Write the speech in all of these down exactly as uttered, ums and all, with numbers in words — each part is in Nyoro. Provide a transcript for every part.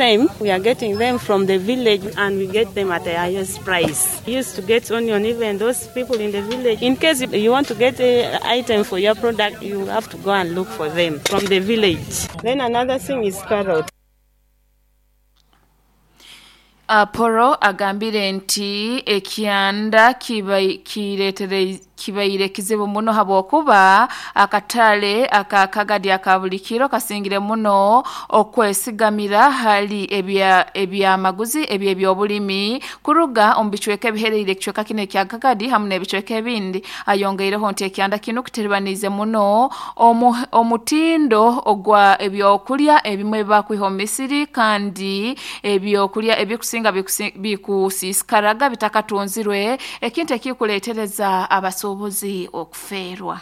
time we are getting them from the village and we get them at the highest price. We used to get onion, even those people in the village. In case you want to get an item for your product, you have to go and look for them from the village. Then another thing is carrot. Apollo agambire nti ekyanda kiretere kibaire kizibu muno habwokuba akatale akakagadi akabulikiro kasingire muno okwesigamira hali ebya ebyamaguzi ebyebyobulimi kuruga omu bicweka ebihereire ekicweka kino ekya Kagadi hamu n'ebicweka ebindi. Ayongeireho nti ekyanda kino kiteribanize muno omu, omutindo ogwa ebyokulya ebimwe bakwiha omu misiri, kandi ebyokulya ebikusinga bikusisikaraga bitakatunzirwe, ekintu ekikuleetereza abasuubuzi okufeerwa.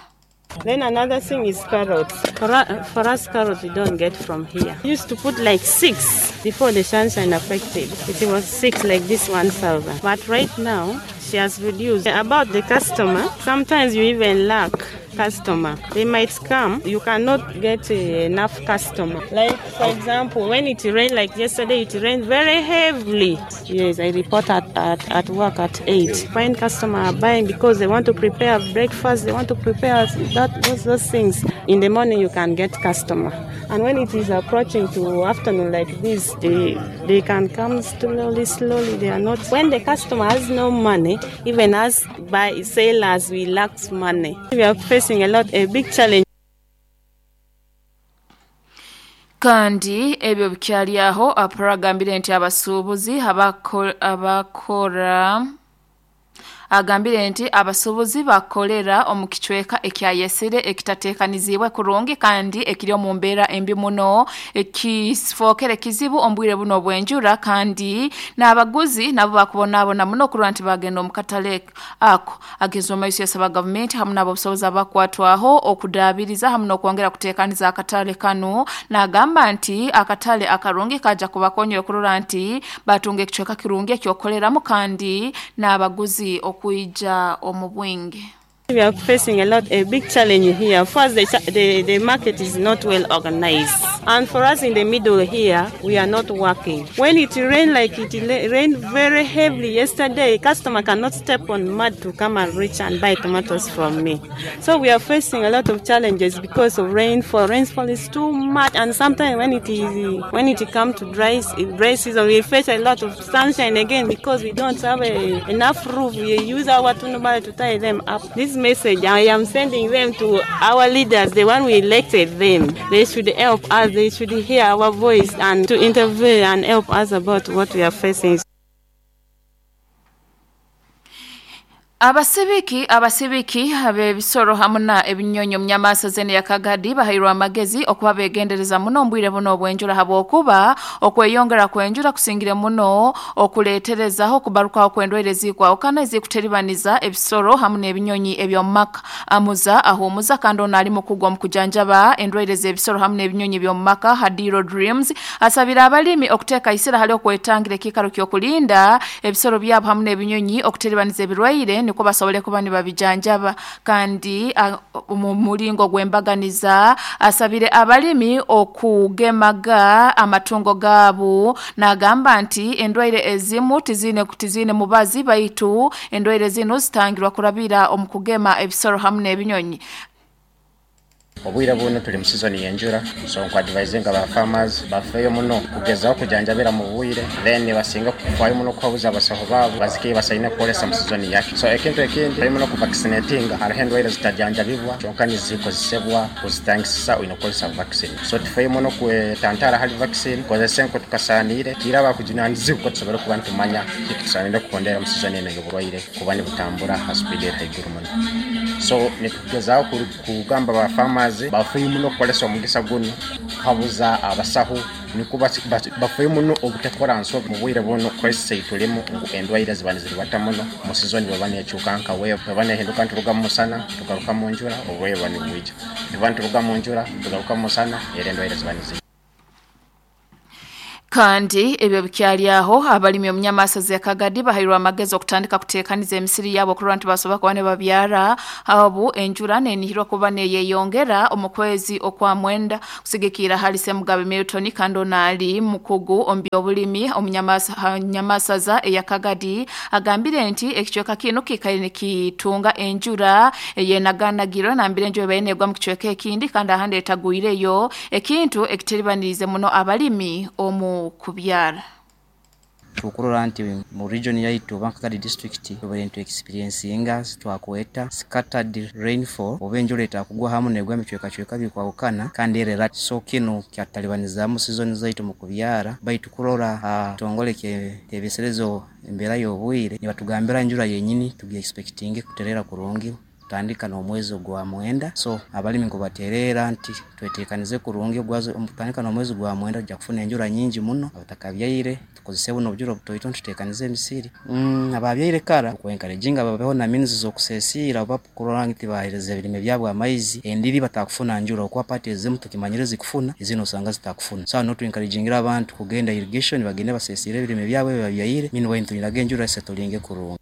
Then another thing is carrots. For, for us, carrots we don't get from here. We used to put like six before the sunshine affected. It was six like this one thousand. But right now, she has reduced. About the customer, sometimes you even lack customer. They might come, you cannot get enough customer. Like, for example, when it rained, like yesterday, it rained very heavily. Yes, I report at, at, at work at eight. Find customer are buying because they want to prepare breakfast, they want to prepare that, those, those things. In the morning, you can get customer. And when it is approaching to afternoon like this, they, they can come slowly, slowly. They are not. When the customer has no money, even us by sellers, we lack money. We are facing a lot, a big challenge. Kandi ebyo bikyali aho, Apollo agambire nti abasuubuzi abakora agambire nti abasuubuzi bakolera omu kicweka ekyayesire ekitateekanizibwe kurungi kandi ekiri omu mbeera embi muno, ekifookere kizibu omu bwire buno obw'enjura, kandi n'abaguzi nabo bakubonaabona muno okurora nti bagenda omu katale ako. Ageza omu maiso yasaba gavumenti hamu n'abobusobozi abakwatwaho okudaabiriza hamu n'okwongera kuteekaniza akatale kanu, n'agamba nti akatale akarungi kaja kubakonyera okurora nti batunga ekicweka kirungi ekyokukoleramu kandi n'abaguzi okuija omu bwingi. We are facing a lot, a big challenge here. First, the, the, the market is not well organized. And for us in the middle here, we are not working. When it rained, like it rained very heavily yesterday, customer cannot step on mud to come and reach and buy tomatoes from me. So we are facing a lot of challenges because of rainfall. Rainfall is too much, and sometimes when it is when it comes to dry, dry season, we face a lot of sunshine again because we don't have a, enough roof. We use our tunubale to tie them up. This message I am sending them to our leaders, the one we elected them. They should help us, they should hear our voice and to intervene and help us about what we are facing. Abasibiki abasibiki ab'ebisoro hamu na ebinyonyi omu nyamaasa zene ya Kagadi bahairwe amagezi okuba begendereza muno omu bwire buno obw'enjura, habwokuba okweyongera kw'enjura kusingire muno okuleeterezaho okubarukaho kw'endwaire ezikwahukana ezikuteribaniza ebisoro hamu n'ebinyonyi eby'omu maka. Amuza ahuumuza kandi ono ali mukugwa omu kujanjaba endwaire z'ebisoro hamu n'ebinyonyi eby'omu maka Hadiro Dreams asabira abalimi okuteeka isira hali okwetangira ekiikaro ky'okulinda ebisoro byabo hamu n'ebinyonyi okuteribaniza ebirwaire niko basobole kuba nibabijanjaba. Kandi mu mulingo gw'embaganiza asabire abalimi okugemaga amatungo gaabo, n'agamba nti endwaire ezimu tizine tizine mubazi baitu endwaire zino zitangirwa kurabira omu kugema ebisoro hamu n'ebinyonyi. Obwire buno tuli mu season y'enjura, so nkwadvisinga ba farmers bafeeyo muno kugezaho kujanjabira mu bwire, then basinga kufaayo muno kuhabuza abasaho baabo bazike basaine kukolesa mu season yake. So ekintu ekindi bali muno kuvaccinatinga, hariho endwaire zitajanjabibwa kyonka nizikozesebwa kuzitangisisa oyine kukozesa vaccine. So tufeeyo muno kwetantara hali vaccine, kozesa enko tukasaaniire kiraba kujunanizibwa ko tusobole kuba nitumanya kiki tusaaniire kukondera mu season eno y'oburwaire kuba nibutambura ha speed eri haiguru muno. So nitugezaho kugamba ba farmers bafeeyo muno kukolesa omugisa guno kuhabuza abasaho niko bafeeyo muno obutakora nsobi mu bwire buno crisis eitulimu ngu endwaire ziba niziribata muno mu season bweba neekyuka nka wewe bweba neehinduka nituruga mu musana tugaruka mu njura oburwaire buba nibwija, tuba nituruga mu njura tugaruka mu musana era endwaire ziba nizija. Kandi ebyo bikyali aho abalimi omunyamasazi ya Kagadi bahairwa amagezi okutandika kuteekaniza emisiri yabo okurora nti basobola kuba ne babyara abu enjura nenihirwa kuba neyeyongera omu kwezi okwa mwenda kusigikira hali Semugabe Milton kandi ono ali mukugu omu byobulimi omunyamasaza eya Kagadi agambire nti ekicweka kino kikaire nikitunga enjura eyenaganagirwe nambire enjura ebaire negwa mu kicweka ekindi kandi ahandi etagwireyo ekintu ekitiribanirize muno abalimi omu kubyara. Tukurora nti mu region yaitu Bankakadi district tubaire nitu experiencinga twakweta scattered rainfall oba enjura etakugwa hamu negwa emicwekacweka bikwahukana kandi erera, so kinu kyatalibanizamu season zaitu mu kubyara. Baitu kurora kitongole kyebeserezo embeera y'obwire nibatugambira enjura yenyini tugi expecting kuterera kurungi kutandika n'omwezi gwa mwenda. So abalimi nkubaterera nti twetekanize kurungi ogwazo kutandika n'omwezi gwa mwenda tujja kufuna enjura nyingi muno. Abatakabyaire tukozese buno obujura obutoito tutekanize emisiri. mm, ababyaire kara okwenkarejinga babeho na means z'okusesiira oba kurora nti bahereza ebirime byabo amaizi. Endiri batakufuna njura okuba pati ezimu tukimanyire zikufuna, ezino osanga zitakufuna. So no tuenkarejingira abantu kugenda irrigation, bagende basesiire ebirime byabo ebibabyaire. Meanwhile tulinaga enjura esetolinge kurungi.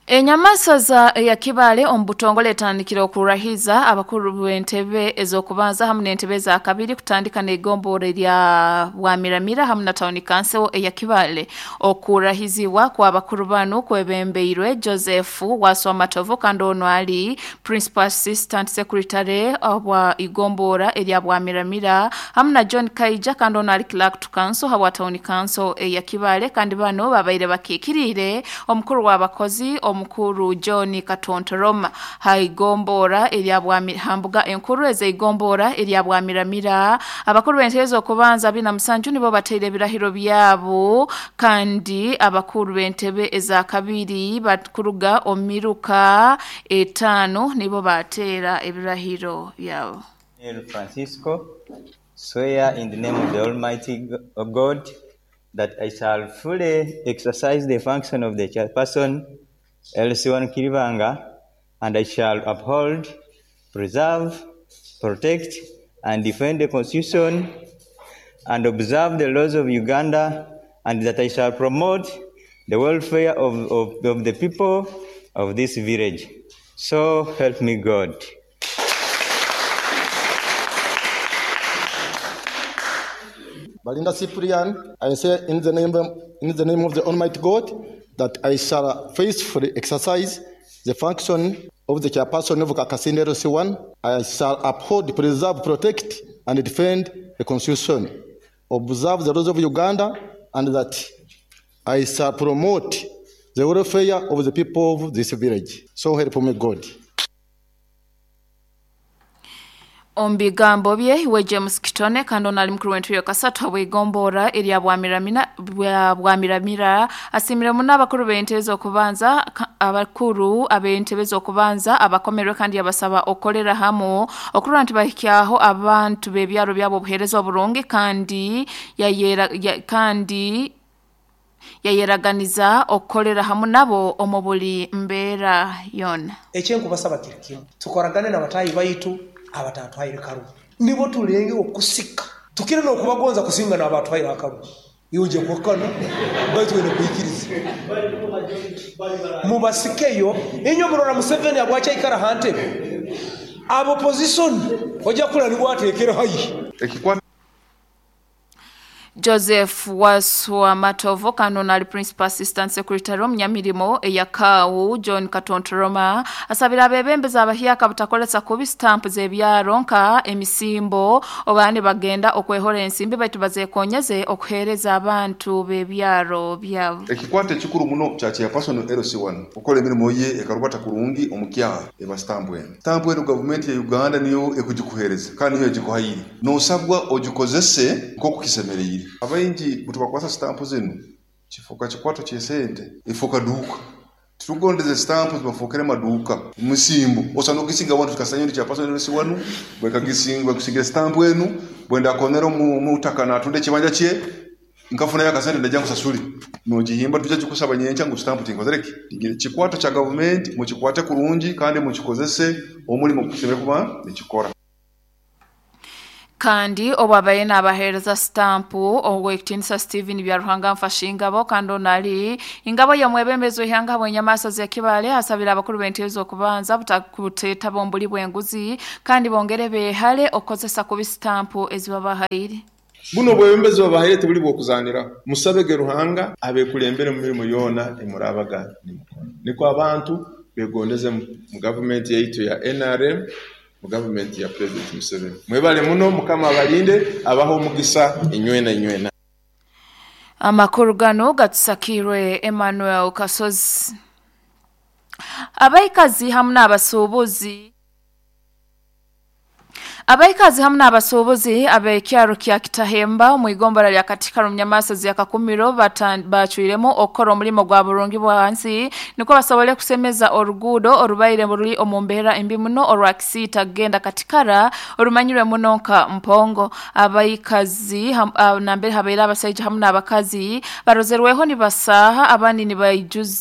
Enyamasaza ya Kibale omu butongole etandikire okurahiza abakuru b'entebe ez'okubanza hamu n'entebe za kabiri kutandika n'egombora erya Bwamiramira hamu na town council eya Kibale. Okurahizibwa kwa bakuru banu kwebembeirwe Joseph Waswa Matovu kandi ono ali principal assistant secretary obwa igombora erya Bwamiramira hamu na John Kaija kandi ono ali clerk to council habwa town council eya Kibale, kandi bano babaire bakikirire omukuru w'abakozi omukuru John Katontoroma. Haigombora erya hambuga enkuru ezeigombora erya Bwamiramira, abakuru b'entebe z'okubanza bina musanju nibo bateire ebirahiro byabo, kandi abakuru b'entebe eza kabiri bakuruga omiruka etaano nibo bateera ebirahiro byabo. Francisco, swear in the name of the Almighty God that I shall fully exercise the function of the chairperson L C one Kiribanga, and I shall uphold, preserve, protect, and defend the Constitution and observe the laws of Uganda, and that I shall promote the welfare of, of, of the people of this village. So help me God. Balinda Cyprian, I say in the name, in the name of the Almighty God that I shall faithfully exercise the function of the chairperson of Kakasinde L C one. I shall uphold, preserve, protect, and defend the Constitution, observe the laws of Uganda, and that I shall promote the welfare of the people of this village. So help me God. Omu bigambo bye iwe James Kitone kandi ono ali mukuru w'entebe kasatu habw'igombora erya Bwamiramira bwa Bwamiramira asimire muno abakuru b'entebe z'okubanza abakuru ab'entebe z'okubanza abakomerwe kandi yabasaba okolera hamu okurora nti bahikyaho abantu b'ebyaro byabo obuheereza oburungi kandi yayera ya, kandi yayeraganiza okukolera hamu nabo omu buli mbeera yona. Ekyenkubasaba kiri kimu, tukoragane n'abatayi baitu abatatwaire karugu, nibo tulenge okusika tukire n'okubagonza kusinga n'abatwaire akarugu. Iwe uje kuhakana, baitu wene kuikiriza mubasikeyo. Inyo murora Museveni abwacha ikara hantebe abo position ojja kula nibwatekere hayi. Joseph Waswa Matovo kano nali principal assistant secretary omunyamirimo eyakaawu John Katontoroma asabira abebembezi abahyaka butakolesa kubi stamp z'ebyaro nka emisimbo oba ne bagenda okwehora ensimbi baitu bazekonyeze okuhereza abantu b'ebyaro byabo. Ekikwate ekikuru muno kya chairperson L C one okola emirimu ye ekarubata kurungi omukyaha eba stamp eno. Stamp eno gavumenti ya Uganda niyo ekugikuhereza kandi niyo egikuhaire, nosabwa ogikozese nk'oku kisemereire. Abaingi bwetubakwasa stamp zinu kifuuka kikwato kyesente, ifuuka duuka. Titugondeze stamp zibafuukire maduuka musimbo osanga ogisinga abantu tukasanya ndi chairperson L C one bwekagisinga bwekusingira stamp enu bwenda akonera omutaka natunda ekibanja kye nkafunayo akasente ndajja nkusasule nogihimba tujja kikusaba nyenkya ngu stamp tinkozereki. Kikwato kya gavumenti mukikwate kurungi kandi mukikozese omulimu gusemere kuba nikikora. Kandi obwabaye n'abaheereza sitampu ow'ekitiinisa Steven Byaruhanga Mfashingabo kandi ono ali ingabo y'omwebembezi w'ihanga bw'enyamaswa za Kibale asabira abakuru b'entebe z'okubanza butakuteetaba omu buli bw'enguzi kandi bongere beehale okukozesa kubi sitampu ezibabahaire. Buno obwebembezi babahaire tibuli bw'okuzaniraho. Musabege Ruhanga abekulembere mu mirimo yoona emurabaga nimukora. Nikwo abantu begondeze mu gavumenti yaitu ya N R M, mu gavumenti ya President Museveni. Mwebale muno, Mukama abalinde, abaho omugisa inywena inywena. Amakuru gano gatusakirwe Emmanuel Kasozi. Abaikazi hamu n'abasuubuzi Abaikazi hamu n'abasuubuzi ab'ekyaro kya Kitahemba omu igombora lya Katikaro Munyamasozi ya Kakumiro bacwiremu okukora omulimo gwa burungi bwansi niko basobole kusemeza oruguudo orubaire ruri omu mbeera embi muno orwa Kisiita kugenda Katikara orumanyirwe muno nka Mpongo. Abaikazi nambere habaire abasaija hamu n'abakazi barozerweho nibasaha abandi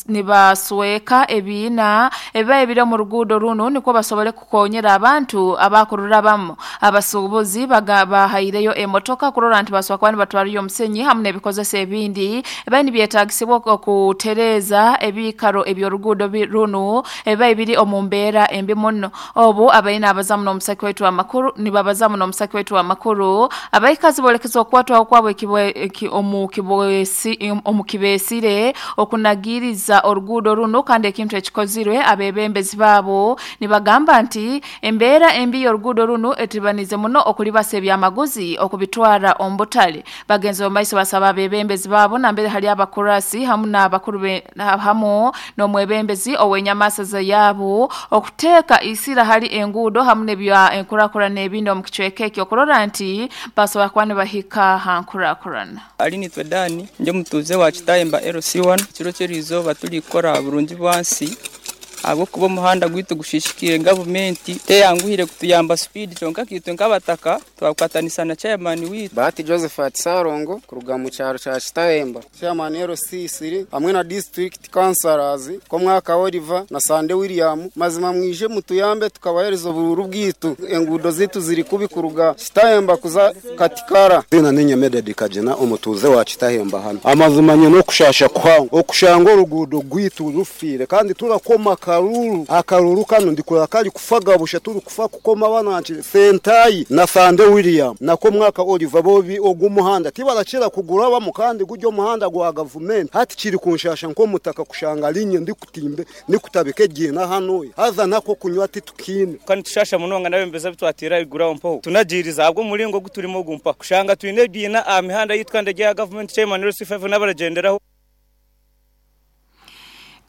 nibasweka ebiina ebibaye biri omu ruguudo runo niko basobole kukonyera abantu abakururabamu. Abasuubuzi bahaireyo emotoka kurora nti baswa kwani batwariyo omusenyi hamu n'ebikozesa ebindi ebaye nibyetagisibwa okutereza ebikaro eby'oruguudo runo ebibaye biri omu mbeera embi muno. Obu abaine abazamu n'omusaki waitu amakuru nibabazamu n'omusaki waitu amakuru abaikazi bolekeza okukwatwaho kwabo omu kibeesire okunagiriza oruguudo runo kandi ekintu ekikozirwe abebembezi baabo nibagamba nti embeera embi y'oruguudo runo etibanize muno okulibasa ebyamaguzi okubitwara omu butale. Bagenzi b'omaiso basaba abebembezi baabo nambere hali abakurasi hamu n'abakuru hamu n'omwebembezi ow'enyamasaza yaabo okuteeka isira hali enguudo hamu n'ebya enkurakurana ebindi omu kicweka ekyo okurora nti basobola kuba nibahika ha nkurakurana. Ali nitwe Dani nje mutuze wa Kitahemba L C one kiro ky'erizooba turi kukora burungi bwansi ahabw'okuba omuhanda gwaitu gushishikire gavumenti teyanguhire kutuyamba speed kyonka kitwe nk'abataka twakwatanisa na chairman witu Bahati Josephat Sarongo kuruga mu cyaro cya Kitahemba chairman L C three hamwe na district councillors ko mwaka Oliver na Sande William mazima mwije mutuyambe tukabahereza obururu bwitu engudo zitu ziri kubi kuruga Kitahemba kuza Katikara. Zina ninye Mededi Kajena omutuze wa Kitahemba hano amazima no kushasha kwangu okushanga orugudo gwitu rufire kandi turakoma akaruru akaruru kano ndikura kali kufaga busha turi kufa kukoma bananchi Sentai na Sande William nako mwaka Oliver bobi ogumuhanda tibarakira kugura bamu kandi gujyo muhanda gwa government hati kiri kunshasha nko mutaka kushanga linye ndikutimbe nikutabike gina hano haza nako kunywa ati tukine kandi tushasha munonga nabembeza bitwatira igura mpo tunagiriza abwo mulingo guturimo gumpa kushanga twine bina amihanda yitwa ndege ya government chairman L C five nabaragenderaho.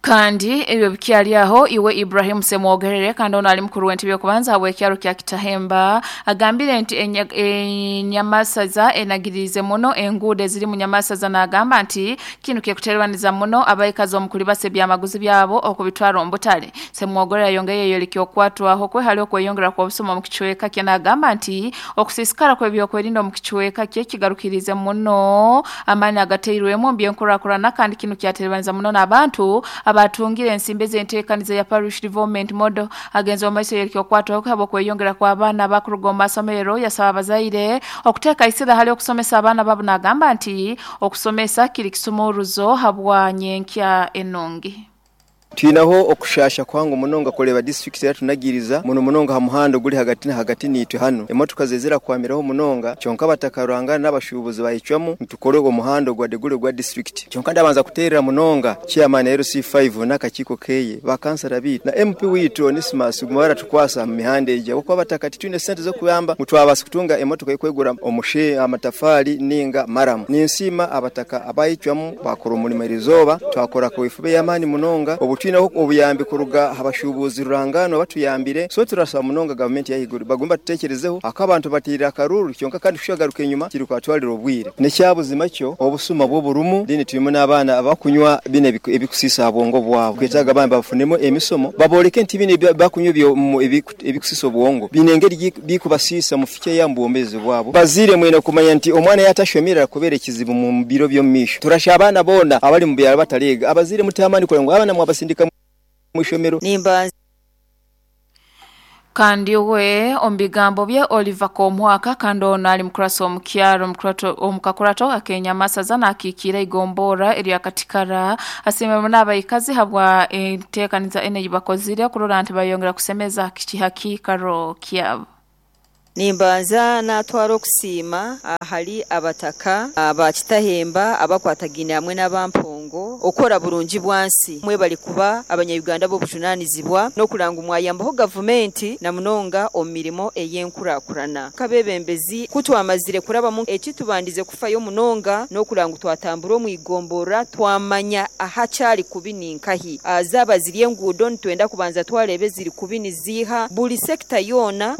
Kandi ebyo bikyali aho iwe Ibrahim Semwogerere kandi ono ali mukuru w'entebe y'okubanza habw'ekyaro kya Kitahemba agambire nti enyamasaza enagirize muno enguudo eziri mu nyamasaza n'agamba nti kinu kyekuterwaniza muno abaikazi omu kulibasa ebyamaguzi byabo okubitwara omu butale. Semwogerere ayongeye yoleka okwatwaho kwe hali okweyongera kw'obusuma mu kicweka kye n'agamba nti okusiisikara kw'ebyokwerinda omu kicweka kye kigarukirize muno amaani agateirwemu mbyenkurakurana kandi kinu kyaterwaniza muno n'abantu abatungire ensimbi z'enteekaniza ya Parish Development Model. Agenzi omaiso yereka okwatwaho habo kweyongera kw'abaana abakuruga omu masomero yasaba abazaire okuteeka isira hali okusomesa abaana babo n'agamba nti okusomesa kiri kisumuruzo habwa nyenkya enungi. Twinaho okushasha kwangu munonga kureba district yatunagiriza muno munonga ha muhando guli hagati na hagati nitwe hano emotoka zezera kwamiraho munonga kyonka batakarwanga n'abashubuzi bayicwamu ntukore ogo muhando gwa degule gwa district kyonka ndabanza kuterera munonga chairman L C five n'akakiiko keye bakansara bitu na M P witu Onesimus gumara tukwasa mu mihanda ejja kuko batakati twine sente zo kuyamba mutwabasa kutunga emotoka yikwegura omushe amatafali ninga maramu ninsima abataka abayicwamu bakora umurimo irizoba twakora ko ifube y'amani munonga obutu twinaho obuyambi kuruga habashubuzi rurangano batuyambire so turasaba munonga government yahiguru bagomba tutekerezeho akabantu batirira akaruru kyonka kandi kushagaruka inyuma kiri kwatwalira obwire nekyabuzima kyo obusuma bwo burumu dini tuyimo n'abana abakunywa bine ebikusisa abwongo bwabo kwetaga abana bafunemo emisomo baboleke nti bine bakunywa ebikusisa obwongo binengeri bikubasisa mufike yambuombezi bwabo bazire mwene kumanya nti omwana yatashomera kubera ekizibu mu biro byo misho turasha abana bona abali mu byalo batarega abazire mutamani kulengo abana mwabasindika mwishomero nimba. Kandi we omu bigambo bye Oliver Komwaka kandi ono ali mukurasa omukyaro omukakurato akenyamasaza n'akiikira igombora erya Katikara asiimire muno abaikazi habwa enteekaniza ene ei bakozire kurora nti bayongera kusemeza kihakiikaro kyabo. Nimbanza natwara okusiima ahali abataka abakitahemba abakwatagine hamwe n'abampongo okora burungi bwansi mwe bali kuba abanyayuganda b'obujunanizibwa n'okuranga mwayambaho gavumenti na munonga omu mirimo ey'enkurakurana kabebembezi kutwamazire kurabamu ekitubandize kufayo munonga n'okuranga twatambura omu igombora twamanya ahakyali kubi ninkahi zaba ziri enguudo nitwenda kubanza twarebe ziri kubi niziiha buli sekita yoona.